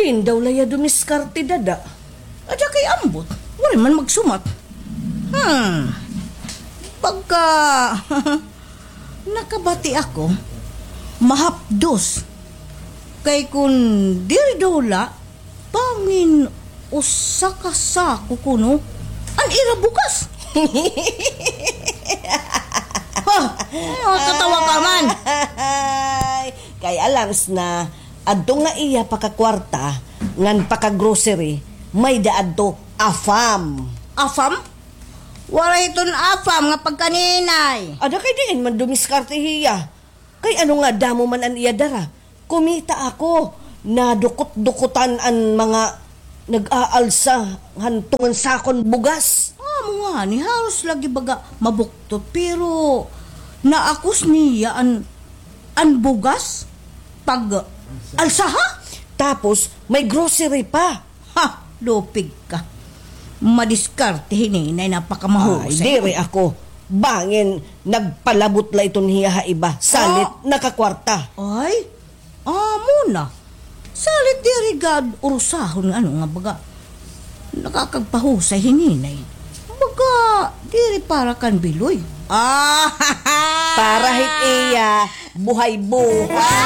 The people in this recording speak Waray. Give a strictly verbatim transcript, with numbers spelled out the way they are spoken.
Diin daw la hiya dumiskarte, dada? Ada kay ambot, waray man magsumat. Hmm. Pagka nakabati ako, mahapdos. Kay kun diri daw la, bangin usa ka sako kuno an ira bugas. Ha? Ano, tatawa ka man? Ay, kay alangs na, adto nga iya pakakwarta, ngan paka-grocery, may-ada adto AFAM. AFAM? Waray iton AFAM nga pagkaninay. Ada kay diin man dumiskarte hiya. Kay ano nga damo man an iya dara? Kumita ako, nadukot-dukotan an mga nag-aalsa han tunga han sakon bugas. Amo ngani, haros lagi baga mabuktot, pero naakos niya an, an bugas pag-alsa, ha? Tapos, may grocery pa. Ha, lupig ka. Madiskarte hi Ninay, napakamahusay. Ay, diri ako. Bangin nagpalabot la iton hiya ha iba. Salit, ah, nakakwarta. Ay, amo na. Salit diri gad urusahon nga ano nga baga. Nakakagpahusay hi Ninay. Baga, diri para kan Biloy. Ah, para hit iya, buhay-buhay.